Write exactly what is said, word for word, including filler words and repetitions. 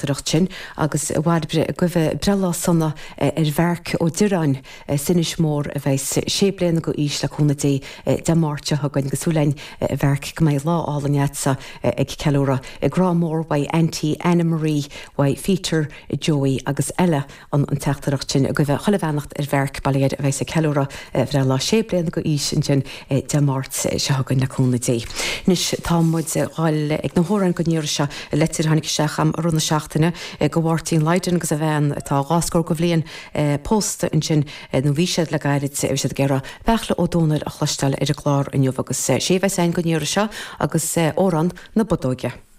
teachtaireacht sin agus a Bhairbre ag guí breithlá sona ar Mharc Ó Direáin as Inis Mór a bheas sé bliana go aois le cúnamh Dé Dé Máirt seo chugainn agus súil againn a Mharc go mbeidh lá álainn agatsa ag ceiliúradh. Grá mór uaidh Auntie Anna Marie uaidh Peter, Joey agus Ella an an teachtaireacht sin ag guí chuile bheannacht ar Mharc bail ó Dhia air a bheas ag ceiliúradh breithlá sé bliana go aois ansin Dé Máirt seo chugainn le cúnamh Dé. Anois tá muid ag dul ag na hamhráin don iarraidh seo leitir tháinig isteach agam i rith na seachtaine go Mháirtín Lydon agus a bhean atá dhá scór go bhliain pósta ansin nó bhí siad le gairid bhí siad ag iarraidh Beartla Ó Domhnaill a chloisteáil ar an gclár inniu agus sé bheas ann don iarraidh seo agus amhrán na Bodóige.